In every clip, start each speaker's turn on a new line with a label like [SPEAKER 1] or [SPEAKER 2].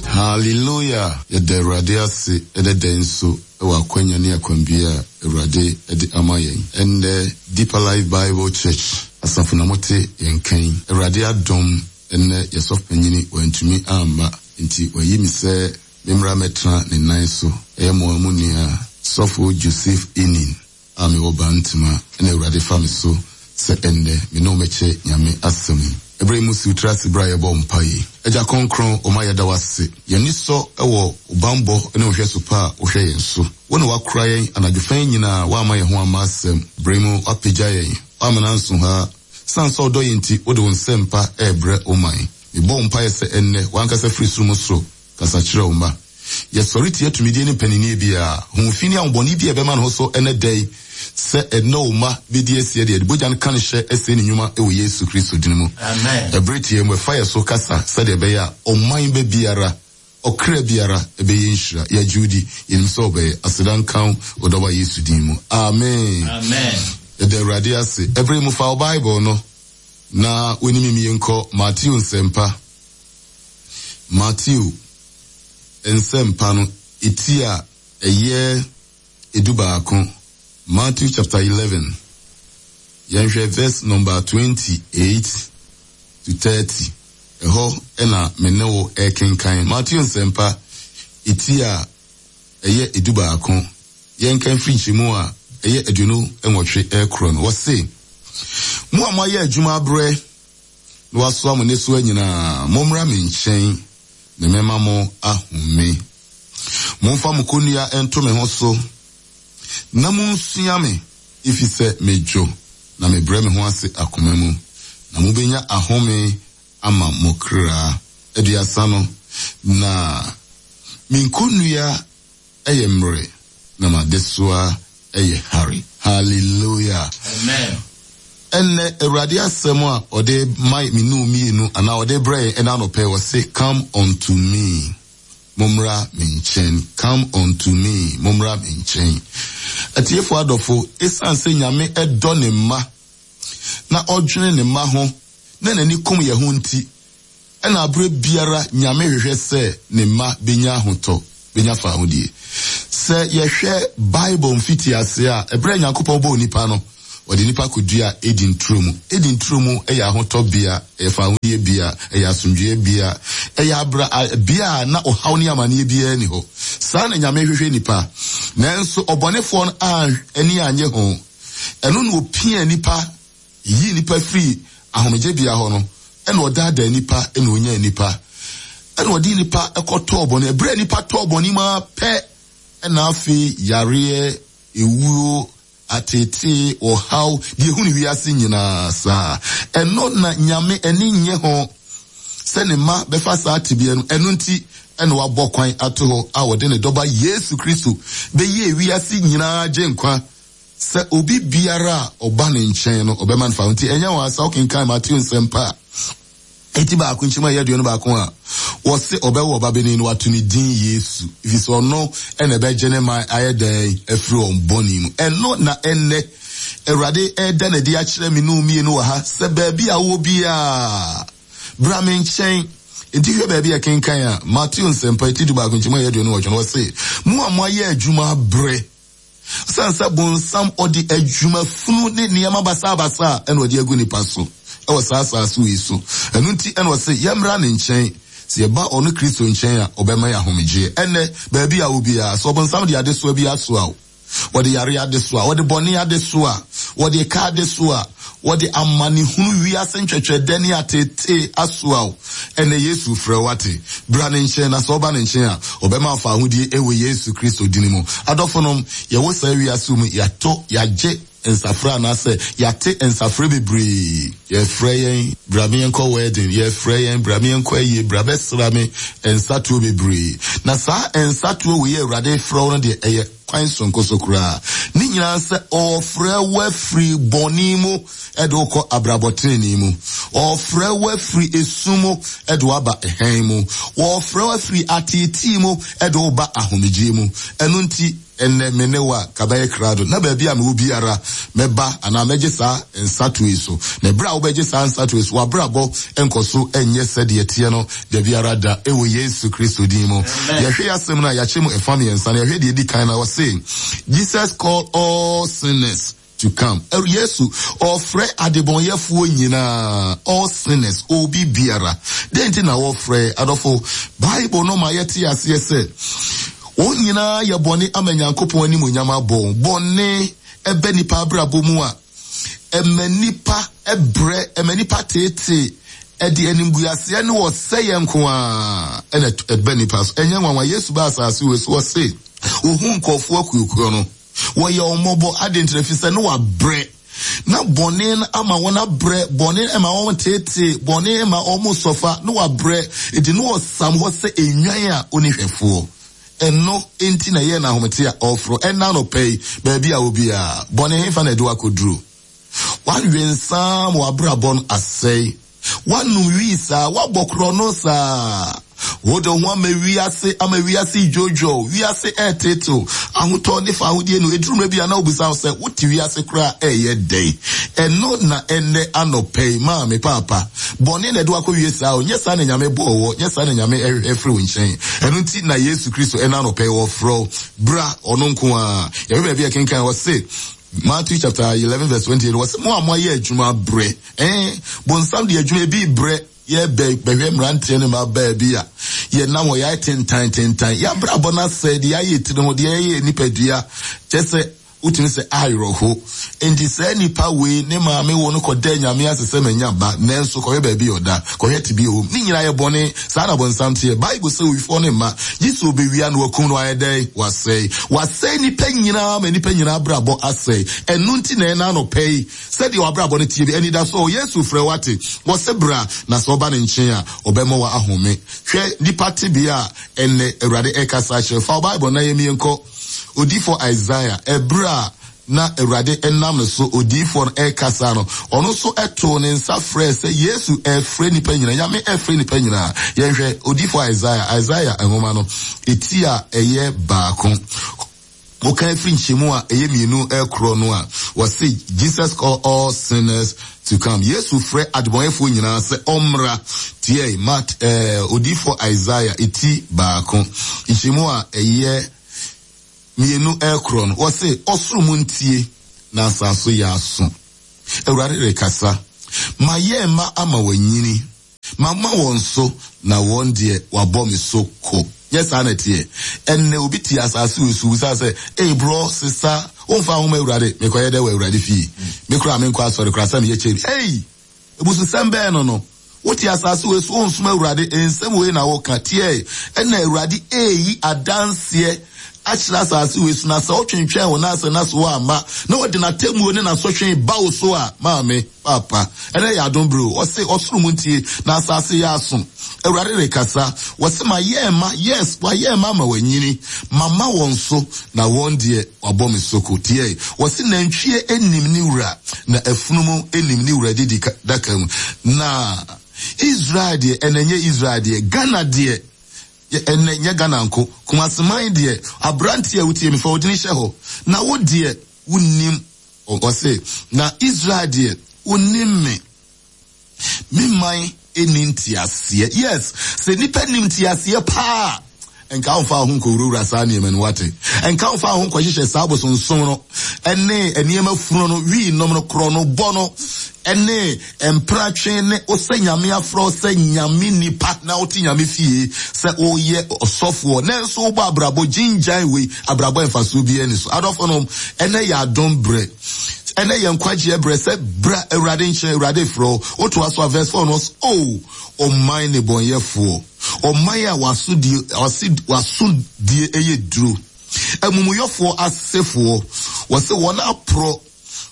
[SPEAKER 1] Hallelujah! Yɛda Awurade ase ɛnɛ da yi nso wɔ akwanya ne akwambea a Awurade de ama yɛn. Ɛnnɛ Deeper Life Bible Church asafo na mote yɛn nka yi. Awurade adom ɛnnɛ yɛ sɔfo panyini wantumi amma nti wayi me sɛ memmra mmɛtena ne nan so. Ɛyɛ mo ara mo nua Sɔfo Joseph Enin. a mewɔ Bantama na Awurade fa me so sɛ ɛnnɛ me ne wo mɛkyɛ Nyame asɛm yi. Ɛberɛ yi mu si wo tiri ase berɛ a yɛbɔ mpaeɛ yi. Agya Kronkron, wo ma yɛda wo ase. Yɛn ani sɔ wɔ wo banbɔ ne wo nhwɛso pa a wohwɛ yɛn so. Wo na woakora yɛn anadwo fa yi nyinaa, woamma yɛn ho amma asɛm. Berɛ yi mu woapagya yɛn, woamma no anso ha. Sane sɛ wodɔ yɛn nti, wode wo nsɛmpa rebrɛ wo man. Mebɔ wo mpaeɛ sɛ ɛnnɛ, w'ankasa firi soro mu soro Kasa kyerɛ wo mma. Yɛsɔre tia tumidie ne mpaninnie biara, honhom fi ne ahobɔne biara a ɛbɛma ne ho so ɛnnɛ da yi, sɛ ɛnnɛ wo mma bɛdi asie de yɛde bogya no ka no hyɛ sɛe ne nnwuma wɔ Yesu Kristo dini mu. Ɛberɛ tiaa mu, ɛfa yɛ so kasa sɛdeɛ ɛbɛyɛ a ɔman ba biara, ɔkra biara bɛyɛ nhyira. Yɛgye wo di, yɛnim sɛ wobɛyɛ. Aseda nka wo, wo Dɔba Yesu din mu. Amen. Yɛda Awurade ase. Ɛberɛ yi mu, fa wo Bible no na wo ne me mienkɔ Mateo Nsɛmpa Mateo Nsɛmpa no ti a ɛyɛ edubaako, Matthew chapter 11, yɛnhwɛ verse number 28 to 30. Ɛhɔ na me ne wo rekenkan. Mateo Nsɛmpa ti a ɛyɛ edubaako, yɛnkan firi nkyɛmu a ɛyɛ 28 rekorɔ no. Wɔse, Mo a moayɛ adwuma abrɛ na wasoa mo nnesoa nyinaa, mommra me nkyɛn, na mɛma mo ahome. Momfa mo kɔnnua nto me ho so, na munsua me, efisɛ midwo na mebrɛ me ho ase akoma mu, na mubenya ahome ama mo kra. 30 no, na me nkonnua yɛ mmere na m'adesoa yɛ hare. Hallelujah.
[SPEAKER 2] Amen.
[SPEAKER 1] Ɛnnɛ, Awurade asɛm a ɔde ma me ne wo mmienu anaa ɔde brɛ yɛn ɛna anɔpɛ ɔse come unto me. Mommra me nkyɛn. Come unto me. Mommra me nkyɛn. Atiefo adɔfo, esiane sɛ Nyame dɔ ne mma na ɔdwene ne mma ho na n'ani kum yɛn ho nti, Ɛna berɛ biara Nyame hwehwɛ sɛ ne mma bɛnya ahotɔ, bɛnya fahodie. Sɛ yɛhwɛ Bible mfitiaseɛ a, ɛberɛ a Nyankopɔn bɔɔ nipa no, ɔde nipa kɔduaa Eden turo mu. Eden turo mu yɛ ahotɔ bea, ɛyɛ fahodie bea, ɛyɛ asomdwoeɛ bea, ɛyɛ abra, bea a na ɔhaw ne amaneɛ biara nni hɔ. Saa na Nyame hwehwɛ nipa. Nanso ɔbɔnefoɔ no ani annye ho. Ɛno na ɔpiaa nipa Yiyii nnipa firii ahomegyebea hɔ no, ɛna ɔdaadaa nnipa, ɛna ɔnyaa nnipa, ɛna ɔde nnipa kɔtɔɔ bɔne. Ɛberɛ a nnipa tɔɔ bɔne mu ara pɛ, ɛna afei yareɛ, ewuo, ateetee, ɔhaw, deɛ ɛhu ne wiase nyinaa saa. Ɛno na Nyame ani nnye ho sɛ ne mma bɛfa saa tebea no. Ɛno nti ɛna wabɔ kwan ato hɔ a ɔde ne dɔba Yesu Kristo bɛyɛɛ wiase nyinaa gyenkwa. Sɛ obi biara a ɔba ne nkyɛn no, ɔbɛma no faho. Nti ɛnyɛ nwanwa sɛ wokenkan Mateo Nsɛmpa a eti baako nkyɛmu a ɛyɛ 21 a, wɔse ɔbɛwo ɔbabanin no, wato ne din Yesu, efisɛ ɔno na ɛbɛgye ne man ayɛ dɛn afiri wɔn bɔne mu. Ɛno na ɛnnɛ Awurade reda no adi akyerɛ me ne wo mmienu wɔ ha, sɛ baabi a wowɔ biara, bra me nkyɛn. Enti hwɛ baabi a ɛkenkan a, Mateo Nsɛmpa eti 11 nkyɛmu a ɛyɛ 28 no, wɔse, Mo a moayɛ adwuma abrɛ, Esiane sɛ bonsam ɔde adwuma funu ne nneɛma basabasa na ɔde agu nnipa so wɔ saa asase wei so. Ɛno nti na ɔse yɛmmra ne nkyɛn. Sɛ yɛba ɔno Kristo nkyɛn a, ɔbɛma yɛn ahomegyeɛ. Ɛnnɛ, baabi a wɔ biara, sɛ ɔbonsam de adesoa bi asoa wo, ɔde yareɛ adesoa, ɔde bɔne adesoa, ɔde ka adesoa, Wɔde amanehunu, wiase ntwɛtwɛdɛ ne ateetee asoa wo. Ɛnnɛ Yesu refrɛ wo, wate? Bra ne nkyɛn, na sɛ woba ne nkyɛn a, ɔbɛma wo fawohodie wɔ Yesu Kristo dini mu. Adɔfonom, yɛwɔ saa wiase mu, yɛato, yɛagye nsafrɛ anaasɛ yɛate nsafrɛ bebree. Yɛfrɛ yɛn, bra me yɛnkɔ wedding, yɛfrɛ yɛn, bra me yɛnkɔ ayie, bra bɛsra me, nsatoɔ bebree. Na saa nsatoɔ wei a Awurade refrɛ wo no deɛ, ɛyɛ. Kwan soronko so koraa. Ne nyinaa sɛ ɔrefrɛ wo afiri bɔne mu de wo kɔ abrabɔ tenenee mu. Ɔrefrɛ wo afiri esum mu de wo aba hann mu. Ɔrefrɛ wo afiri ateetee mu de wo ba ahomegyeɛ mu. Ɛno nti, ɛnnɛ me ne wo a ka bɛyɛ krado na baabi a mewɔ biara mɛba anaa mɛgye saa nsato yi so. Na ɛberɛ a wobɛgye saa nsato yi so, w'abrabɔ nkɔ so nyɛ sɛdeɛ ɛteɛ no da biara da, ɛwɔ Yesu Kristo din mu. Yɛhwɛ yɛ asɛm no a yɛakyɛ mu ɛfa mmiɛnsa no, yɛhwɛ deɛ ɛdi kan no a, ɔse, Jesus called all sinners to come. Yesu ɔfrɛ adebɔnyɛfoɔ nyinaa, all sinners, obi biara. Dɛn nti na wɔfrɛ? Adɔfo, Bible no ma yɛte aseɛ sɛ wɔn nyinaa yɛ bɔne ama Nyankopɔn animuonyam abɔ wɔn. Bɔne ɛbɛ nipa abrabɔ mu a, ɛma nipa brɛ, ɛma nipa teetee, ɛde animguaseɛ ne ɔsɛeɛ nko ara ɛna ɛbɛ nipa so. Ɛnyɛ nwanwa, Yesu baa asase wei so, ɔse, ohuu nkurɔfoɔ akuokuo no, wɔyɛ wɔn mmɔbɔ. Adɛn nti? Ɛfiri sɛ ne wabrɛ. Na bɔne no ama wɔn abrɛ, bɔne ma wɔn teetee, bɔne ma wɔn sɔfa, ne wabrɛ. Enti ne wɔsam hɔ sɛ nnwan a ɔnni hwɛfoɔ. Ɛno nti na ɛyɛɛ no ahomete a ɔreforo ɛnnɛ anɔpa yi, baabi a wɔ biara. Bɔne hefa na ɛde wo akɔduru? Woawe nsa ma w'abrabɔ no asɛe. Woanom wii saa, woabɔ korɔno saa. Wode wo ho ama wiase, ama wiase redwoodwoo, wiase reteetew. Ahotɔ ne fawohodie no, ɛduru mmerɛ bi a na wobisa wo sɛ, wote wiase koraa a ɛreyɛ dɛn? Ɛno na ɛnnɛ anɔpa yi, maame, paapa, Bɔne na ɛde wo akɔwie saa o, nyɛ saa na Nyame bɔɔ wɔ, nyɛ saa na Nyame ɛhwehwɛ firi wo nkyɛn. Ɛno nti na Yesu Kristo ɛna anɔpa yi ɔfrɛ wo, bra, ɔno nko ara. Yɛhwɛ baabi a ɛkenkan, ɔse, Matthew chapter 11 verse 28, ɔse, mo a moayɛ adwuma abrɛ, eh, bonsam de adwuma ebi brɛ, yɛbɛ bɛhwɛ mmeranteɛ ne mmabaa bi a yɛnam hɔ yɛayɛ tentan tentan, yɛabrabɔ no asɛe, deɛ yɛayɛ tiri ho, deɛ yɛyɛ nipadua, kyɛ sɛ Wotumi sɛ awerɛho. Enti saa nipa wei ne maame wo no kɔdaa Nyame ase sɛ manya ba, nanso kɔhwɛ baabi a ɔda, kɔhwɛ tebea a ɔwɔ mu. Ne nyinaa yɛ bɔne. Saa na bonsam teɛ. Bible sɛ owifoɔ no mma, gye sɛ ɔbɛwia na wakum no ayɛ dɛn? Wasɛe. Wasɛe nnipa nyinaa ma nnipa nyinaa abrabɔ asɛe. Ɛno nti na ɛna anɔpa yi, sɛdeɛ w'abrabɔ no teɛ bi, anidasoɔ wɔ. Yesu frɛ wo ate. Ɔse bra, na sɛ woba ne nkyɛn a, ɔbɛma w'ahome. Hwɛ nnipa tebea a ɛnnɛ Awurade ɛrekasa akyerɛ. Fa wo Bible na yɛmmie nkɔ. Odiyifoɔ Isaiah, ɛberɛ a na Awurade nam ne so, odiyifoɔ no, rekasa no, ɔno nso too ne nsa frɛɛ sɛ Yesu refrɛ nnipa nyinaa, Nyame refrɛ nnipa nyinaa. Yɛnhwɛ, odiyifoɔ Isaiah, Isaiah nwoma no, eti a ɛyɛ baako, wokan firi nkyɛmu a ɛyɛ mmienu rekorɔ no a, wɔse, Jesus call all sinners to come. Yesu frɛ adebɔnyɛfoɔ nyinaa sɛ ɔmmra. Tiɛ, Mat, eh, odiyifoɔ Isaiah, eti baako, nkyɛmu a ɛyɛ mmienu rekorɔ no, wɔse, Ɔsoro montie, na asase yɛ aso. Awurade rekasa. Mayɛ mma ama wɔanyini. Mama wɔn so, na wɔn deɛ, wɔabɔ me so ko. Nyɛ saa na ɛteɛ? Ɛnnɛ, obi te asase wei so, obisa sɛ, Ei, brɔ, sesa, womfa wo ho mma Awurade? Mekɔyɛ dɛn wɔ Awurade fie? Me koraa menkɔ asɔre koraa, sɛ meyɛ kyɛn bi. Ei! Abususɛm bɛn no no? Wote asase wei so, wonsom Awurade, nsɛm wei na woka. Tiɛ, ɛnna Awurade reyi adanseɛ akyerɛ asase wei so, na sɛ wotwentwɛn wo nan ase na so woamma, na ɔde n'atemmuo ne n'asotwe ba wo so a, maame, paapa, ɛnɛ yɛ adom bere o. Ɔse, ɔsoro mu ntie, na asase yɛ aso. Awurade rekasa. Wɔse, mayɛ mma, yes, wayɛ mma ama wɔanyini. Mama wɔn so, na wɔn deɛ, wɔabɔ me soko. Tiɛ, wɔse, nantwie nim ne wura, na afunumu nim ne wura didi daka mu. Na Israel deɛ, ɛnɛ nyɛ Israel deɛ, Ghana deɛ, Ɛnnɛ, nyɛ Ghana nko, Kumasi man deɛ, aberanteɛ a wotie me, fa wo dini hyɛ hɔ, na wo deɛ, wonnim, ɔse, na Israel deɛ, wonnim me. Me man nni nteaseɛ. Yes, sɛ nnipa nim nteaseɛ paa a, nka womfa wo ho nkɔwurawura saa nneɛma no, wate? Nka womfa wo ho nkɔhyehyɛ saa abosonsom no, ne nneɛma funu no, wii nom no, korɔ no, bɔ no, ne Mpratwe ne wo sɛ Nyame afrɛ wo sɛ Nyame nipa na wote Nyame fie sɛ woyɛ ɔsɔfoɔ nanso wobɔ abrabɔ gyingyan wei abrabɔ mfasoɔ biara ni so. Adɔfo nom, ɛnɛ yɛ adom berɛ. Ɛnɛ yɛ nkwagyeɛ berɛ sɛ bra Awurade nkyɛn, Awurade frɛ wo. Wotoa so a verse 4 no ɔse, O ɔman nnebɔnyɛfoɔ, ɔman a w'asodie, w'asodie yɛ duro, amumuyɔfoɔ asefoɔ, wɔse wɔn aporɔ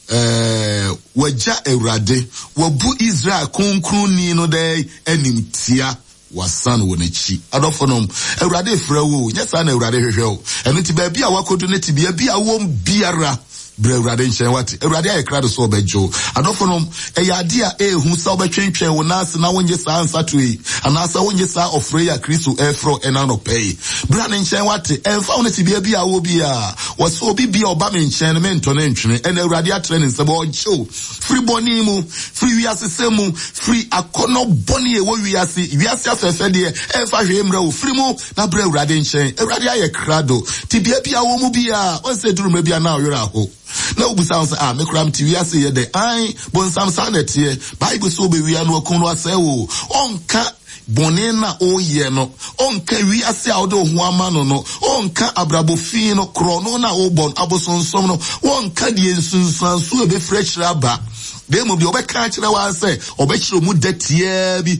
[SPEAKER 1] Ɛɛ, wɔagya Awurade, wɔabu Israel Kronkronni no dɛn animtia? Wasan wɔ n'akyi. Adɔfonom, Awurade refrɛ wo o, nyɛ saa na Awurade hwehwɛ wo. Ɛno nti, baabi a woakɔdu ne tebea bi a wowom biara, brɛ Awurade nkyɛn, woate? Awurade ayɛ krado sɛ ɔbɛgye wo. Adɔfonom, ɛyɛ adeɛ a ɛyɛ hu sɛ wobɛtwentwɛn wo nan ase na wonnye saa nsato yi, anaasɛ wonnye saa ɔfrɛ yi a Kristo refrɛ wo ɛnnɛ anɔpa yi. Bra ne nkyɛn, woate? Ɛmfa ho ne tebea bi a wowɔ biara, wɔse obi biara a ɔba me nkyɛn no, mentɔ no ntwene. Ɛnnɛ Awurade atrɛ ne nsam, ɔregye wo. Firi bɔne mu, firi wiasesɛm mu, firi akɔnnɔ bɔne a ɛwɔ wiase, wiase afɛɛfɛdeɛ ɛmfa hwee mmerɛ wo, firi mu na brɛ Awurade nkyɛn. Awurade ayɛ krado. Tebea bi a wɔ mu biara, wɔn sɛ duru mmerɛ bi a na ɔwerɛ aho. Na wobisa wo sɛ, ah, me koraa mete wiase yɛ dɛ. Ae, bonsam saa na ɛteɛ. Bible sɛ wobɛwia no wakum no asɛe wo. Ɔnka bɔne no a woyɛ no, ɔnka wiase a wode wo ho ama no no, ɔnka abrabɔ fi no, korɔno no a wobɔ no, abosonsom no, wɔnka deɛ nsunsuanso a ɛbɛfiri akyire aba. Na mmom deɛ ɔbɛka akyerɛ wo ara sɛ ɔbɛkyerɛ mu dɛ tiaa bi.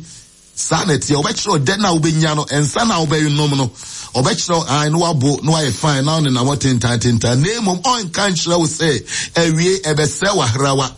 [SPEAKER 1] Saa na ɛteɛ, ɔbɛkyerɛ ɔdɛ no a wobɛnya no, nsa no a wobɛnom no, ɔbɛkyerɛ wo ae na wabo na wayɛ fine na wonenam hɔ tentan tentan. Na mmom ɔnka nkyerɛ wo sɛ awie ɛbɛsɛe w'ahrawa.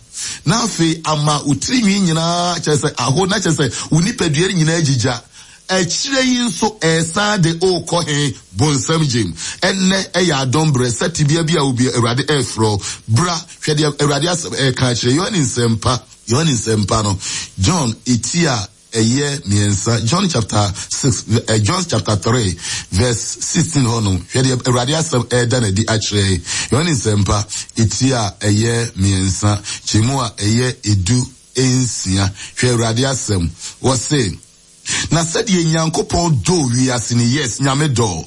[SPEAKER 1] Na afei ama wo tirinwi nyinaa, kyerɛ sɛ aho, na kyerɛ sɛ wo nipadua no nyinaa agyigya. Akyire yi nso ɛresan de worekɔ he? Bonsam gyem. Ɛnnɛ ɛyɛ adom berɛ sɛ tebea bi a wɔ biara Awurade ɛrefrɛ wo. Bra, hwɛ deɛ Awurade asɛm ɛreka akyerɛ. Yohane Nsɛmpa, Yohane Nsɛmpa no, John eti a ɛyɛ miɛnsa, John chapter 6, eh, John chapter 3 verse 16 hɔ nom, hwɛ deɛ Awurade asɛm ɛreda no adi akyerɛ yɛn. Yohane Nsɛmpa, eti a ɛyɛ miɛnsa, kyɛmu a ɛyɛ 16, hwɛ Awurade asɛm, wɔse, Na sɛdeɛ Nyankopɔn dɔɔ wiase no, yes, Nyame dɔɔ,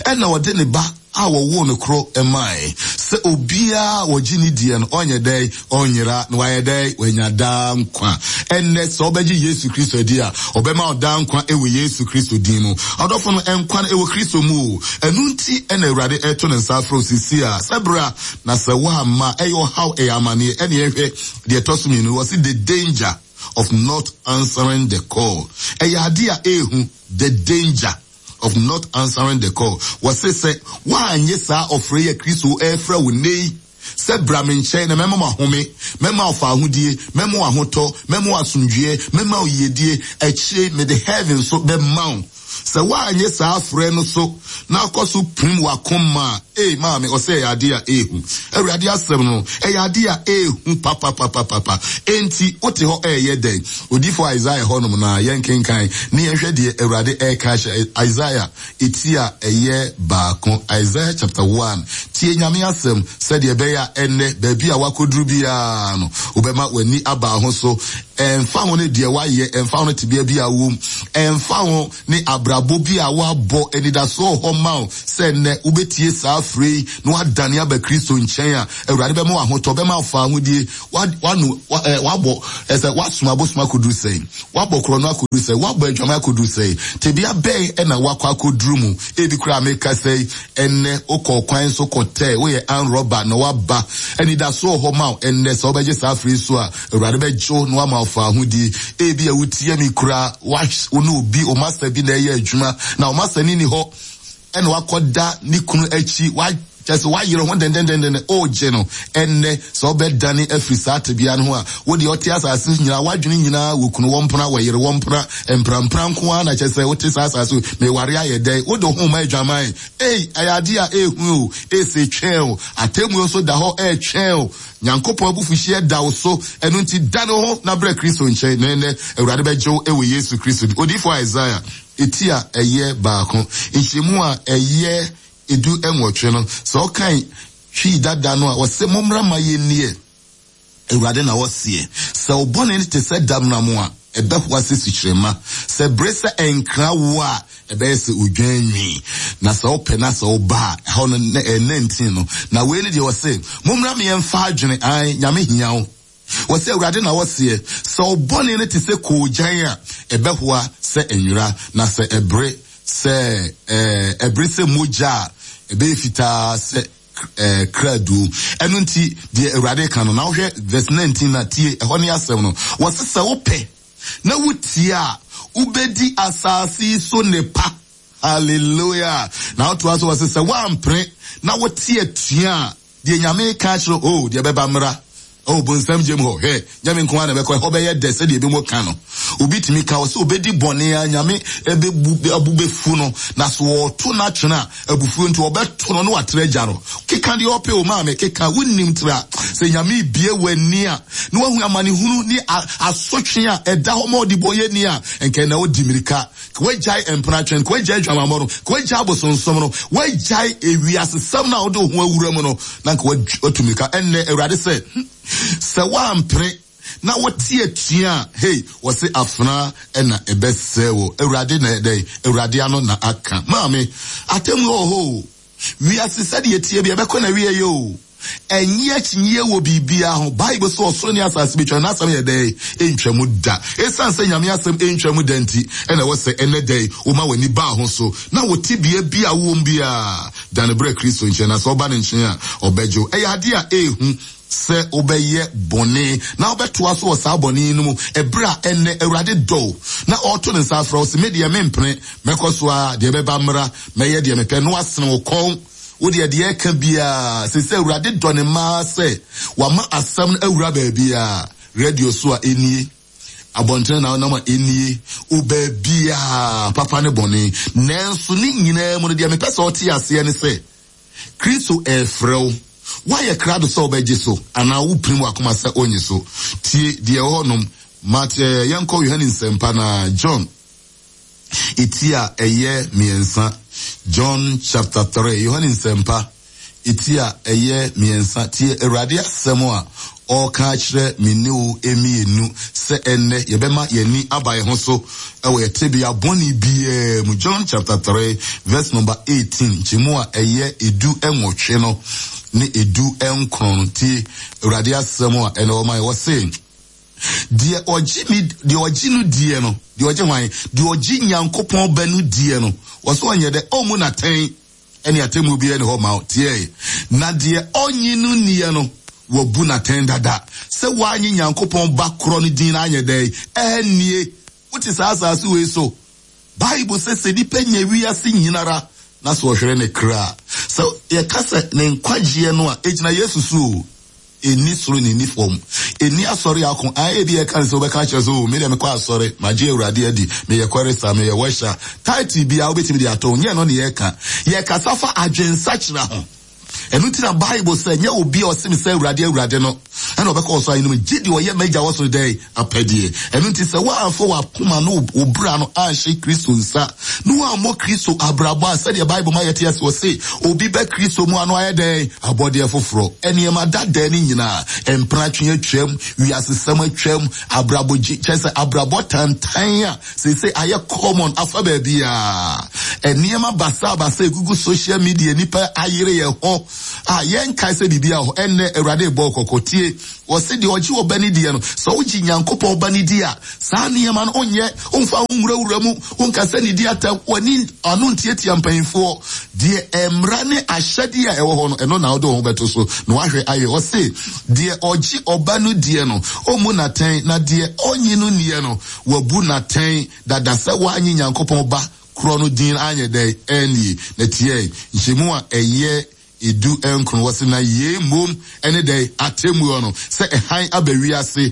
[SPEAKER 1] ɛna ɔde ne Ba a wɔwoo no koro mae, sɛ obiara a ɔgye ne diɛ no, ɔnyɛ dɛn? Ɔnyera, na wayɛ dɛn? Wanya daa nkwa. Ɛnnɛ, sɛ wobɛgye Yesu Kristo adi a, ɔbɛma wo daa nkwa wɔ Yesu Kristo din mu. Ɔdɔfo no, nkwa no, ɛwɔ Kristo mu o. Ɛno nti na Awurade reto ne nsa afrɛ wo seesei a, sɛ bra, na sɛ woamma a, ɛyɛ ɔhaw, ɛyɛ amaneɛ. Ɛnneɛ hwɛ deɛ ɛtɔ so mmienu, wɔse the danger of not answering the call. Ɛyɛ adeɛ a ɛyɛ hu, the danger of not answering the call. Wɔse sɛ woannye saa ɔfrɛ yi a Kristo refrɛ wo nnɛ yi sɛ bra me nkyɛn na mɛma wo ahome, mɛma wo fawohodie, mɛma wo ahotɔ, mɛma wo asomdwoeɛ, mɛma wo yiedie, akyire mede heaven nso bɛma wo. Sɛ woannye saa frɛ no so na akɔ so pirim w'akoma a, ei maame, ɔsɛ ɛyɛ adeɛ a ɛyɛ hu. Awurade asɛm no, ɛyɛ adeɛ a ɛyɛ hu papapapapa. Enti, wote hɔ ɛreyɛ dɛn? Odiyifoɔ Isaiah hɔnom no a, yɛnkenkan na yɛnhwɛ deɛ Awurade ɛreka ahyɛ Isaiah eti a ɛyɛ baako, Isaiah chapter 1. Tie Nyame asɛm sɛdeɛ ɛbɛyɛ a ɛnnɛ, baabi a woakɔduru biara no, wobɛma w'ani aba ho so. Ɛmfa ho ne deɛ woayɛ, ɛmfa ho ne tebea bi a wowom, ɛmfa ho ne abrabɔ bi a woabɔ, anidasoɔ wɔ hɔ ma wo sɛ nnɛ wobɛtie saa frɛ yi na woadane aba Kristo nkyɛn a, Awurade bɛma wo ahotɔ, bɛma wo fawohodie. Woanu, woabɔ, ɛsɛ woasom abosom akɔduru sɛn? Woabɔ korɔno akɔduru sɛn? Woabɔ adwaman akɔduru sɛn? Tebea bɛn na woakɔ akɔduru mu? Ebi koraa mekasa yi, Ɛnnɛ, wokɔ ɔkwan so kɔtɛɛ, woyɛ armed robber na woaba. Anidaso wɔ hɔ ma wo ɛnnɛ, sɛ wobɛgye saa afiri yi so a, Awurade bɛgye wo na wama wo fawohodie. Ebia wotie me koraa, wo ne obi, wo master bi na ɛyɛ adwuma, na wo master no nni hɔ, ɛna wakɔda ne kunu akyi, wa kyerɛ sɛ wayere ho dendendenden, ɔregye no. Ɛnnɛ, sɛ wobɛdane afiri saa tebea no ho a, wo deɛ ɔte asase so nyinaa, w'adwene nyinaa wɔ kunu, wɔ mpena, wɔ yere, wɔ mpena, mprampra nko ara na kyerɛ sɛ wote saa asase so, meware ayɛ dɛn? Wode wo ho ma adwaman. Ei, ɛyɛ adeɛ a ɛhu o, ese twɛn o, atemmuo nso da hɔ ɛretwɛn o. Nyankopɔn abufuhyeɛ da wo so, ɛno nti dane wo ho na brɛ Kristo nkyɛn, na ɛnnɛ Awurade bɛgye wo wɔ Yesu Kristo din. Odiyifoɔ Isaiah, eti a ɛyɛ baako, nkyɛmu a ɛyɛ 18 no, sɛ wokan Twi dada no a, ɔse, Mommra mma yɛnnie. Awurade na ɔseɛ. Sɛ wo bɔne no te sɛ damnam a, ɛbɛhoa sɛ sukyerɛmma. Sɛ ɛbere sɛ ɛnkra wo a, ɛbɛyɛ sɛ odwan nwi. Na sɛ wopɛ na sɛ woba a, ɛhɔ no, 19 no. Na wei ne deɛ ɔse, Mommra me yɛmfa adwene, ae, Nyame hia wo. Wɔse, Awurade na ɔseɛ, sɛ wo bɔne no te sɛ koogyan a, ɛbɛhoa sɛ nwera, na sɛ ɛbere sɛ, ɛɛ, ɛbere sɛ mogya a, ɛbɛyɛ fitaa sɛ ɛɛ, krado. Ɛno nti, deɛ Awurade ka no, na wohwɛ verse 19 na tie, ɛhɔ ne asɛm no. Wɔse sɛ wopɛ na wotie a, wobɛdi asase yi so nnepa. Hallelujah! Na wotoa so wɔse sɛ woampere na wote atua a, deɛ Nyame reka akyerɛ oh, deɛ ɛbɛba mmra. Oh, bonsam gyam hɔ, hwɛ, nyɛ me nko ara na ɛbɛkɔ, ɛhɔ bɛyɛ dɛ sɛdeɛ ebinom ka no. Obi tumi ka ɔsɛ obedi bɔne a Nyame ɛbɛbu abu bɛfu no, na so ɔto no atwene a, abufuo nti ɔbɛto no na watrɛ agya no. Keka deɛ ɔpɛ o maame, keka, wonnim tra. Sɛ Nyame rebue w'ani a, na wahu amanehunu ne asotwe a ɛda hɔ ma ɔdebɔnyɛni a, nka ɛnna ɔdi mmirika. Ka wagyae mpenatwe no, ka wagyae adwamammɔ no, ka wagyae abosonsom no, wagyae ewiasesɛm no a wode wo ho awura mu no, na nka watu mmirika. Ɛnnɛ, Awurade sɛ, sɛ woampere na wote atua a, hei, wɔse afena na ɛbɛsɛe wo. Awurade na ɛdɛn? Awurade ano na aka. Maame, atemmuo wɔ hɔ o. Wiase sɛdeɛ ɛteɛ bi, ɛbɛkɔ n'awieeɛ o. Ɛnnye akyinnyeɛ wɔ biribiara ho. Bible se ɔsoro ne asase bɛtwa, na n'asɛm yɛ dɛn? Ɛntwa mu da. Ɛsiane sɛ Nyame asɛm ɛntwa mu da nti, ɛna ɛwɔ sɛ ɛnnɛ da yi woma w'ani ba ho so, na wo tebea bi a wowɔ mu biara, dane brɛ Kristo nkyɛn, na sɛ woba ne nkyɛn a, ɔbɛgye wo. Ɛyɛ adeɛ a ɛyɛ hu sɛ wobɛyɛ bɔne na wobɛtoa so wɔ saa bɔne no mu ɛberɛ a ɛnnɛ Awurade dɔ wo na ɔreto ne nsa afrɛ wo se, Me deɛ mempene, mɛkɔ so ara, deɛ ɛbɛba mmra, mɛyɛ deɛ mepɛ, na wasene wo kɔn. Wo deɛ, deɛ ɛka biara, seesei Awurade dɔ ne mma ara sɛ wama asɛm no awura baabiara, radio so a ɛnie, abɔntene na wonam a ɛnie, wo baabiara, papa ne bɔne. Nanso ne nyinaa mu no, deɛ mepɛ sɛ ɔte aseɛ ne sɛ, Kristo ɛrefrɛ wo. Woayɛ krado sɛ wobɛgye so anaa wopirim w'akoma sɛ onnye so? Tie deɛ ɛwɔ hɔnom. Mat, eh, yɛnkɔ Yohane Nsɛmpa no John. Eti a ɛyɛ miɛnsa, John chapter 3, Yohane Nsɛmpa, eti a ɛyɛ miɛnsa, tie Awurade asɛm a ɔreka akyerɛ me ne wo mmienu sɛ ɛnnɛ yɛbɛma yɛn ani aba yɛn ho so wɔ yɛn tebea bɔne biara mu. John chapter 3 verse number 18, nkyɛmu a ɛyɛ edu nwɔtwe no ne edu nkron no, tie Awurade asɛm a ɛnɛ ɔma yɛ, ɔse, Deɛ ɔgye me, deɛ ɔgye no die no, deɛ ɔgye hwan? Deɛ ɔgye Nyankopɔn Ba no die no, ɔsɛ ɔnyɛ dɛ, ɔmmu no atɛn, ɛne atemmuo biara nni hɔ ma wo. Tiɛe. Na deɛ ɔnnye no nniɛ no, wabu no atɛn dada, sɛ wannye Nyankopɔn Ba korɔ no din no anyɛ dɛn? Annie. Wote saa asase wei so? Bible sɛ, sɛ nipa nya wiase nyinara, na sɛ ɔhwere ne kra a, sɛ yɛka sɛ ne nkwagyeɛ no a, ɛgyina Yesu so o. Ɛnni soro na ɛnni fam. Ɛnni asɔre ako. Ae, ebia ɛka ne sɛ wobɛka akyerɛ sɛ, Oh, me deɛ mekɔ asɔre, magye Awurade adi, meyɛ chorister, meyɛ worship. Title biara wobɛtumi de ato ho. Nyɛ ɛno na yɛreka. Yɛrekasa fa adwensakyera ho. Ɛno nti na Bible sɛ, nyɛ obi a ɔse me sɛ Awurade, Awurade no ɛna ɔbɛkɔ ɔsoro ahenni mu, gye deɛ ɔyɛ m'agya wɔ soro dɛn apɛdeɛ. Ɛno nti sɛ woamfa w'akoma ne wo bra no anhyɛ Kristo nsa, na woammɔ Kristo abrabɔ a, sɛdeɛ Bible ma yɛte ase, ɔse, obi bɛ Kristo mu a na wayɛ dɛn? Abɔdeɛ foforɔ. Nneɛma dadaa no nyinaa, mpratwe atwam, wiasesɛm atwam, abrabɔ gye, kyerɛ sɛ abrabɔ tantan a seesei ayɛ common afa baabiara. Nneɛma basabasa egugu social media, nnipa ayere yɛn ho a yɛnkae sɛ biribiara wɔ hɔ. Ɛnnɛ, Awurade rebɔ wo kɔkɔ. Tie! Wɔse deɛ ɔgye ɔba no diɛ no, sɛ wogye Nyankopɔn Ba no di a, saa nneɛma no wonyɛ, womfa wo ho nwurawura mu, wonkasa nnidi atɛm, w'ani ano ntiatia mpanyimfoɔ. Deɛ mmara ne ahyɛdeɛ a ɛwɔ hɔ no, ɛno na wode wo ho bɛto so na woahwɛ ayɛ. Ɔse, deɛ ɔgye ɔba no diɛ no, ɔmmu no atɛn, na deɛ ɔnnye no nniɛ no, wabu no atɛn dada sɛ wannye Nyankopɔn Ba korɔ no din anyɛ dɛn annie. Na tiɛ, nhyɛmu a ɛyɛ Edu nkron, wɔse na yei mmom ne dɛn? Atemmuo no, sɛ hann aba wiase,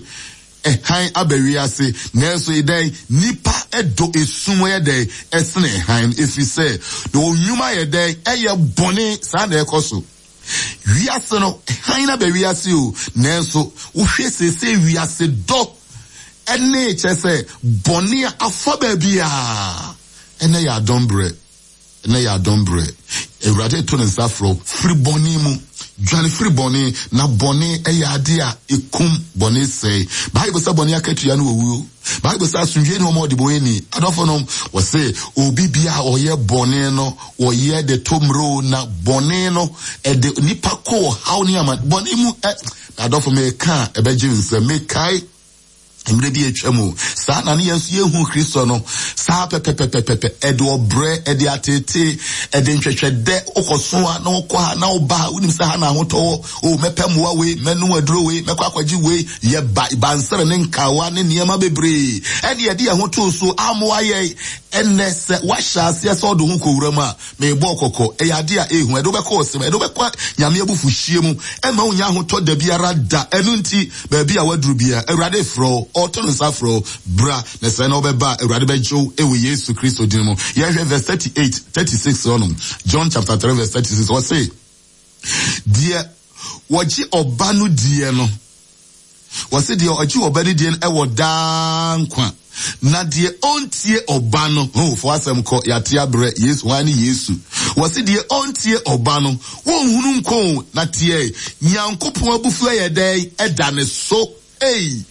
[SPEAKER 1] hann aba wiase, nanso dɛn? Nnipa dɔ esum yɛ dɛn? Ɛsene hann, ɛfiri sɛ na wɔn nnwuma yɛ dɛn? Ɛyɛ bɔne. Saa na ɛkɔ so. Wiase no, hann aba wiase o, nanso wohwɛ seesei wiase dɔ ɛne kyerɛ sɛ bɔne a afa baabiara, ɛnɛ yɛ adom berɛ. Ɛnnɛ yɛ adom berɛ. Awurade reto ne nsa afrɛ wo. Firi bɔne mu. Dwane firi bɔne, na bɔne yɛ adeɛ a ɛkum, bɔne sɛe. Bible sɛ bɔne akatua ne owuo. Bible sɛ asomdwoeɛ ne wɔn a wɔde bɔne ni. Adɔfonom, wɔse obi biara a ɔyɛ bɔne no, ɔyɛ de to mmerɛ o, na bɔne no, ɛde nipa kɔ ɔhaw ne ama bɔne mu. Ɛ, adɔfo, meka a ɛbɛgye nsam. Mekae Mmerɛ bi atwa mu, saa na ne yɛn nso yɛhu Kristo no, saa pɛpɛpɛpɛpɛ, ɛde ɔbrɛ, ɛde ateetee, ɛde ntwɛtwɛdɛ, wokɔso a na wokɔ ha na woba ha, wonim sɛ ha na ahotɔ wɔ, o mɛpɛ mmoa wei, mɛnom aduro wei, mɛkɔ akɔgye wei, yɛ ba, bansere ne nkawa ne nneɛma bebree, ɛne yɛde yɛn ho too so amoa yɛn. Ɛnnɛ sɛ woahyɛ aseɛ sɛ wode wo ho kɔwura mu a, Merebɔ wo kɔkɔ, ɛyɛ ade a ɛyɛ hu, ɛde wo bɛkɔ ɔsɛe mu, ɛde wo bɛkɔ Nyame abufuhyeɛ mu, ɛmma wonnya ahotɔ da biara da. Ɛno nti, baabi a woaduru biara, Awurade refrɛ wo. Ɔreto ne nsa afrɛ wo, bra, na sɛ na wobɛba a, Awurade bɛgye wo wɔ Yesu Kristo din mu. Yɛnhwɛ verse 38, 36 hɔnom. John chapter 3 verse 36. Ɔse, deɛ wɔgye ɔba no diɛ no, wɔse deɛ ɔgye ɔba no diɛ no ɛwɔ daa nkwa. Na deɛ ɔntie ɔba no, ho fo asɛm kɔ, yɛate abrɛ, Yesu, hwan ne Yesu? Wɔse deɛ ɔntie ɔba no, wɔnhunu nko o, na teɛ, Nyankopɔn abufuo yɛ dɛn? Ɛda ne so. Ei!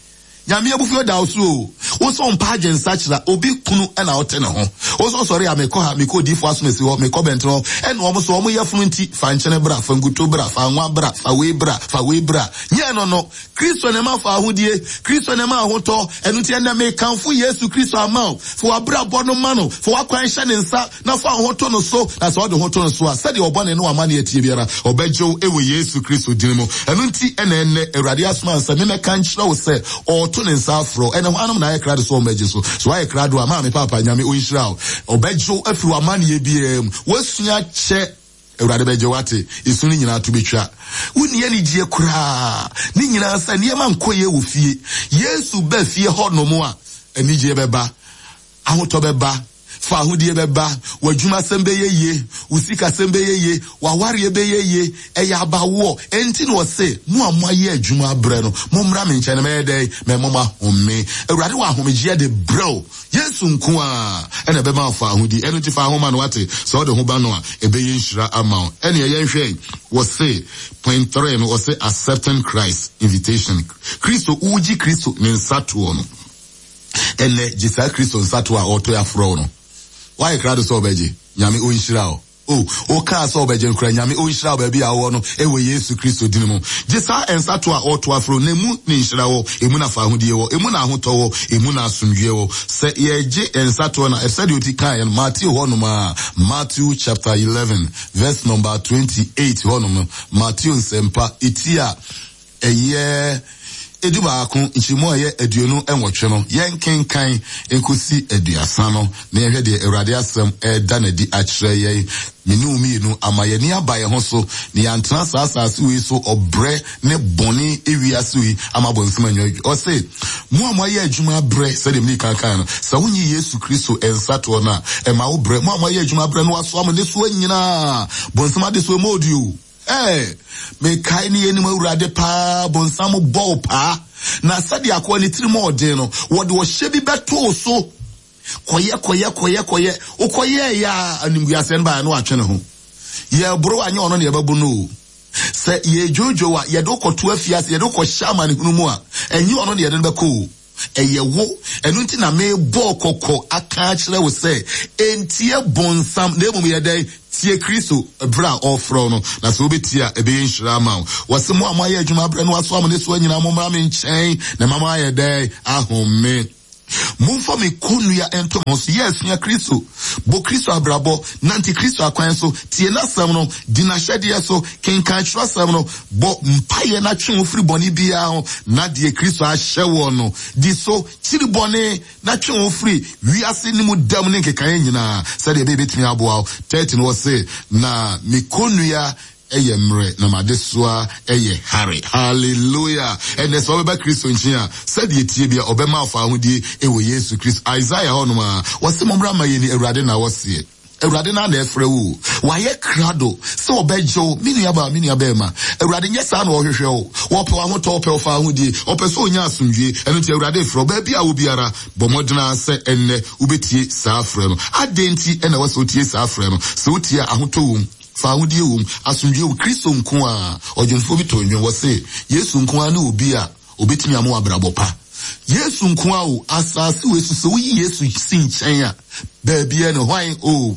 [SPEAKER 1] Nyame abufuo da wo so o. Wo nso mpa adwen nsakyera, obi kunu na wote ne ho. Wo nso sɔre a mekɔ ha, mekɔ odiyifoɔ asomasi hɔ, mekɔ bɛntene hɔ, ɛna wɔn nso wɔn yafunu nti, fa nkyene bra, fa nkuto bra, fa anwa bra, fa wei bra, fa wei bra. Nyɛ ɛno no. Kristo na ɛma fawohodie, Kristo na ɛma ahotɔ, ɛno nti ɛnnɛ mekamfo Yesu Kristo ama wo. Fa w'abrabɔ no ma no, fa w'akwan hyɛ ne nsa, na fa wo ho to no so, na sɛ wode wo ho to no so a, sɛdeɛ wo bɔne ne w'amaneɛ teɛ biara, ɔbɛgye wo wɔ Yesu Kristo din mu. Ɛno nti na ɛnnɛ Awurade asoma me sɛ memmɛka nkyerɛ wo sɛ ɔreto ne nsa afrɛ wo. Ɛnnɛ hwannom na ayɛ krado sɛ wɔmmɛgye so? So woayɛ krado a? Maame, paapa, Nyame ɔnhyira wo. Ɔbɛgye wo afiri w'amaneɛ biara mu. Woasua kyɛ. Awurade bɛgye wo ate. Esu no nyinaa to bɛtwa. Wonni anigyeɛ koraa. Ne nyinaa sɛ nneɛma nkɔ yie wɔ fie. Yesu ba fie hɔnom a, anigyeɛ bɛba. Ahotɔ bɛba, fawohodie bɛba, w'adwumasɛm bɛyɛ yie, wo sikasɛm bɛyɛ yie, w'awareɛ bɛyɛ yie. Ɛyɛ abawoɔ. Enti na ɔse, mo a moayɛ adwuma abrɛ no, mommra me nkyɛn na mɛyɛ dɛn? Mɛma mo ahome. Awurade wɔ ahomegyeɛ de brɛ wo. Yesu nko ara na ɛbɛma wo fawohodie. Ɛno nti fa ho ma no, wate? Sɛ wode ho ba no a, ɛbɛyɛ nhyira ama wo. Ɛnneɛ yɛnhwɛ, wɔse, point three no, wɔse accepting Christ invitation. Kristo, wogye Kristo ne nsatoɔ no. Ɛnnɛ, gye saa Kristo nsato a ɔreto afrɛ wo no. Woayɛ krado sɛ wobɛgye? Nyame ɔnhyira wo. O, wokaa sɛ wobɛgye no koraa. Nyame ɔnhyira wo baabi a wowɔ no, ɛwɔ Yesu Kristo din mu. Gye saa nsato a ɔreto afrɛ wo no. Emu ne nhyira wɔ, emu na fahodie wɔ, emu na ahotɔ wɔ, emu na asomdwoeɛ wɔ. Sɛ yɛregye nsatoɔ no a, sɛdeɛ ɔti kaeɛ no, Mateo hɔnom a, Matthew chapter 11, verse number 28 hɔnom no, Mateo nsɛmpa, eti a ɛyɛ edubaako, nkyɛmu a ɛyɛ 28 no, yɛnkenkan nkosi 30 no, na yɛnhwɛ deɛ Awurade asɛm reda no adi akyerɛ yɛn. Me ne wo mmienu, ama yɛn ani aba yɛn ho so, na yɛantena saa asase wei so ɔbrɛ ne bɔne wiase wei ama abɔnsam anya adwuma. Ɔse, mo a moayɛ adwuma abrɛ, sɛdeɛ mede kan kae no, sɛ wonyi Yesu Kristo nsatoɔ no a, ɛma wo brɛ. Mo a moayɛ adwuma abrɛ no, wasoa mo nnesoa nyinaa. Bonsam adesoa mu ɔɔdi o. Ɛɛ, mekae ne yɛnim Awurade paa, bonsam bɔ wo paa. Na sɛdeɛ akoa ne tirim ɔɔden no, wɔde ɔhyɛ bi bɛto wo so. Kɔyɛ, kɔyɛ, kɔyɛ, kɔyɛ. Wokɔyɛɛyɛ a, animguaseɛ no baeɛ na watwe ne ho. Yɛreboro a, nyɛ ɔno na yɛbɛbo no o. Sɛ yɛredwoodwoo a, yɛde wo kɔto afiase, yɛde wo kɔhyɛ amanehunu mu a, ɛnyɛ ɔno na yɛde no bɛkɔ o. Ɛyɛ wo. Ɛno nti na merebɔ kɔkɔ aka akyerɛ wo sɛ, ntie bonsam, na mmom yɛ dɛn? Tie Kristo berɛ a ɔrefrɛ wo no. Na sɛ wobɛtie a, ɛbɛyɛ nhyira ama wo. Wɔse, mo a moayɛ adwuma abrɛ na wɔasoa mo nnesoa nyinaa, mommra me nkyɛn, na mɛma moayɛ dɛn? Ahome. Momfa me kɔnnua nto mo ho so. Yɛ sua Kristo. Bɔ Kristo abrabɔ. Nante Kristo akwan so. Tie n'asɛm no. Di n'ahyɛdeɛ so. Kenkan twerɛsɛm no. Bɔ mpaeɛ na twe wo firi bɔne biara ho, na deɛ Kristo ahyɛ woɔ no, di so. Kyiri bɔne na twe wo firi wiase no mu dɛm ne nkekaeɛ nyinaa, sɛdeɛ ɛbɛyɛ ɛbɛtumi aboa wo. 30 no ɔse, Na me kɔnnua yɛ mmerɛ na m'adesoa yɛ hare. Hallelujah! Ɛnnɛ sɛ wobɛba Kristo nkyen a, sɛdeɛ ɛteɛ biara, ɔbɛma wo fawohodie wɔ Yesu Kristo. Isaiah hɔnom ara, ɔse, Mommra mma yɛnni, Awurade na ɔseɛ. Awurade no ara na ɛfrɛ wo o. Wayɛ krado sɛ ɔbɛgye wo, me nuabaa, me nuabɛrima. Awurade nyɛ saa na ɔhwehwɛ wo. Ɔpɛ w'ahotɔ, ɔpɛ wo fawohodie, ɔpɛ sɛ ɔnya asomdwie. Ɛno nti Awurade refrɛ wo. Baabi a wɔ biara, bɔ mmɔden ara sɛ ɛnnɛ wobɛtie saa frɛ no. Adɛn nti na ɛwɔ sɛ wotie saa frɛ no? Sɛ wotie a, ahotɔ wom, fawohodie wom, asomdwie wom. Kristo nko ara. Ɔdwomfoɔ bi too nnwom, ɔse, Yesu nko ara ne obi a Obetumi ama wo abrabɔ pa. Yesu nko ara o, asase wei so sɛ woyi Yesu si nkyɛn a, baabiara ni hwan o.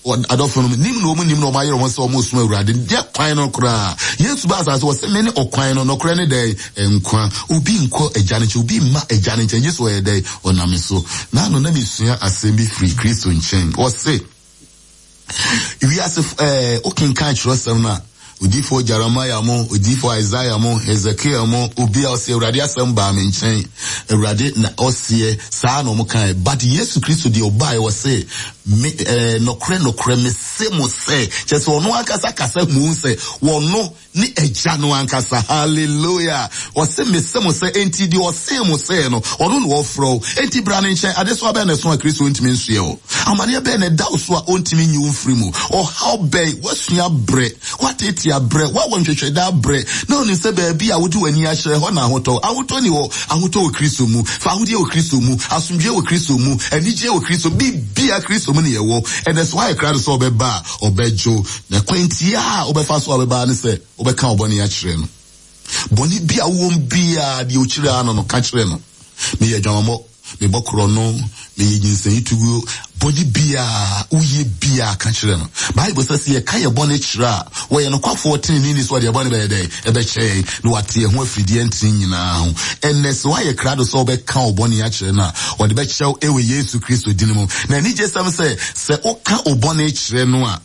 [SPEAKER 1] Adɔfo no, nim na wɔn nim na wɔn ayere wɔn sɛ wɔn resom Awurade. Deɛ kwan no koraa. Yesu ba asase wɔ sɛ me ne ɔkwan no, nɔkorɛ ne dɛn? Nkwa. Obi nkɔ agya no nkyɛn, obi mma agya no nkyɛn, gye sɛ ɔyɛ dɛn? Ɔnam so. N'ano na mesua asɛm bi firi Kristo nkyɛn. Ɔse, Wiase ɛɛ wokenkan kyerɛwsɛm no a, odiyifoɔ Jeremiah mo, odiyifoɔ Isaiah mo, Hezekiel mo, obi a ɔse Awurade asɛm baa me nkyɛn, Awurade na ɔseɛ, saa na wɔn kae. But Yesu Kristo deɛ ɔbaeɛ ɔse, me ɛɛ nɔkorɛ nɔkorɛ mese. Mese mo sɛ, kyerɛ sɛ ɔno ankasa kasa mu sɛ wɔno ne Agya no ankasa. Hallelujah! Ɔse mese mo sɛ, enti deɛ ɔsee mo sɛ no, ɔno na ɔfrɛ wo. Enti bra ne nkyɛn. Adesoa bɛn na ɛso a Kristo ntumi nsoɛ wo? Amaneɛ bɛn na ɛda wo so a ɔntumi nyi wo mfiri mu? Ɔhaw bɛn? Woasua abrɛ, woateetee abrɛ, woawɔ nhwehwɛdɛ abrɛ, na wonim sɛ baabi a wode w'ani akyerɛ, ɛhɔ na ahotɔ. Ahotɔ nni hɔ. Ahotɔ wɔ Kristo mu. Fawodeɛ wɔ Kristo mu. Asomdwoeɛ wɔ Kristo mu. Anigyeɛ wɔ Kristo mu. Biribiara Kristo mu na yɛwɔ. Ɛnɛ sɛ woayɛ krado sɛ ɔbɛba a, ɔbɛgye wo. Na kwan tiaa a wobɛfa so a ɔbɛba ara ne sɛ wobɛka wo bɔne akyerɛ no. Bɔne bi a wowɔ mu biara, deɛ ɔkyiri ara no no, ka kyerɛ no. Meyɛ adwamammɔ, mebɔ korɔno, meyɛ nyinsɛn tuguo. Bɔne biara woyɛ biara, ka kyerɛ no. Bible sɛ, sɛ yɛka yɛn bɔne kyerɛ a, wɔyɛ nokwafoɔ teneneeni sɛ ɔde yɛn bɔne bɛyɛ dɛn? Ɛbɛkyɛ yɛn, na wate yɛn ho afiri deɛ ɛntene nyinaa ho. Ɛnnɛ, sɛ woayɛ krado sɛ wobɛka wo bɔne akyerɛ no a, ɔde bɛkyɛ wo wɔ Yesu Kristo din mu. Na anigyesɛm sɛ, sɛ woka wo bɔne kyerɛ no a,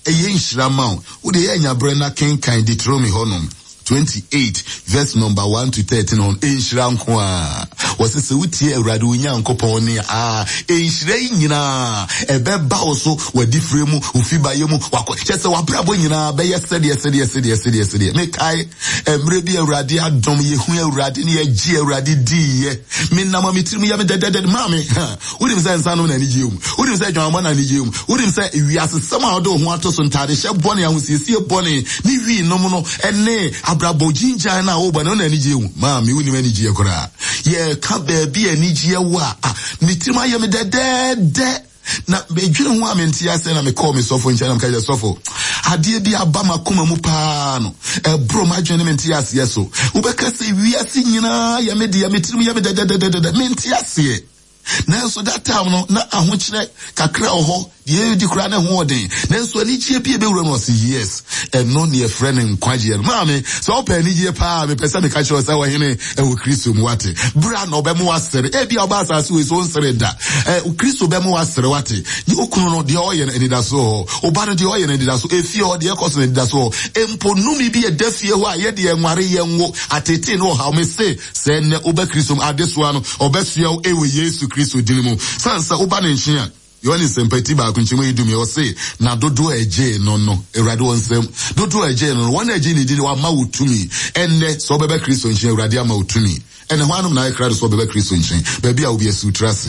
[SPEAKER 1] ɛyɛ nhyira ma wo. Wo deɛ yɛ nya berɛ na kenkan Deuteronomy hɔnom 28 verse number 1 to 13 hɔ no, nhyira nko ara. Wɔse sɛ wotie Awurade wo Nyankopɔn nne a, nhyira yi nyinaa ɛbɛba wo so, w'adifire mu, wo fibayɛ mu, wakɔ, kyɛ sɛ w'abrabɔ nyinaa bɛyɛ sɛdeɛ sɛdeɛ sɛdeɛ sɛdeɛ sɛdeɛ. Mekae mmerɛ bi Awurade adom, yɛhu Awurade ne yɛgye Awurade diiɛ. Menam a me tirim yɛ me dɛdɛdɛdɛ, maame, ha. Wonim sɛ nsa nom na anigyeɛ wom. Wonim sɛ adwamammɔ na anigyeɛ wom. Wonim sɛ wiasesɛm a wode wo ho ato so, ntadehyɛ bɔne, ahosiesie bɔne, ne wii nom no ne abrabɔ gyingyan no a wobɔ no, ɛno na anigyeɛ wom. Maame, wonim anigyeɛ koraa. Yɛreka baabi a anigyeɛ wɔ a, ah, me tirim ayɛ me dɛdɛɛdɛ. Na medwene ho a mente aseɛ na mekɔɔ me sɔfo nkyɛn na meka kyerɛ sɔfo, adeɛ bi aba m'akoma mu paa no, ɛboro m'adwene ne me nteaseɛ so. Wobɛka sɛ wiase nyinaa yɛ me dea, me tirim yɛ me dɛdɛdɛdɛdɛ, mente aseɛ. Nanso that time no, na ahokyerɛ kakra wɔ hɔ, deɛ ɛredi koraa na ɛho ɔden. Nanso anigyeɛ bi a ɛbɛwura mu, ɔse yes, ɛno ne yɛfrɛ no nkwagyeɛ no. Maame, sɛ wopɛ anigyeɛ paa, mepɛ sɛ meka kyerɛ wo sɛ ɔhene ɛwɔ Kristo mu, wate. Bra na ɔbɛma woasere. Ebia ɔba asase wei so wonsere da. Ɛ, Kristo bɛma woasere, wate. Wo kunu no, deɛ ɔyɛ no, anidaso wɔ hɔ. Wo ba no, deɛ ɔyɛ no, anidaso. Efie hɔ, deɛ ɛkɔ so no, anidaso wɔ hɔ. Mpo nnome bi ɛda fie hɔ a, yɛdeɛ nware, yɛnwo, atetee ne ɔhaw. Mese, Sɛ nnɛ woba Kristo mu adesoa no, ɔbɛsoa wo wɔ Yesu Kristo din mu. Sane sɛ woba ne nkyen a, Yohane Nsɛmpa ti baako nkyɛmu edu mmiɛ, ɔse, Na dodoɔ a ɛgyee no no, Awurade wɔ nsam, dodoɔ a ɛgyee no no, wɔn a ɛgyee ne di no, wama wo tumi. Ɛnnɛ, sɛ wobɛba Kristo nkyen, Awurade ama wo tumi. Ɛnnɛ, hwannom na ayɛ krado sɛ wɔbɛba Kristo nkyen? Baabi a wobia, si wo tiri ase.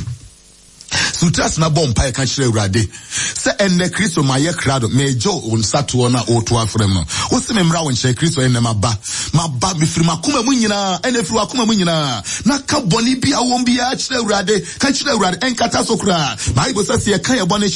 [SPEAKER 1] So wotra ase na bɔ mpae ka kyerɛ Awurade sɛ, Ɛnnɛ, Kristo, mayɛ krado, meregye wo nsatoɔ no a woreto afrɛ me no. Wose memmra wo nkyɛn, Kristo, ɛnnɛ maba. Maba, mefiri m'akoma mu nyinaa, ɛnna firi w'akoma mu nyinaa, na ka bɔne bi a wowɔ mu biara kyerɛ Awurade. Ka kyerɛ Awurade, ɛnkata so koraa. Bible sɛ, sɛ yɛka yɛn bɔne kyerɛ.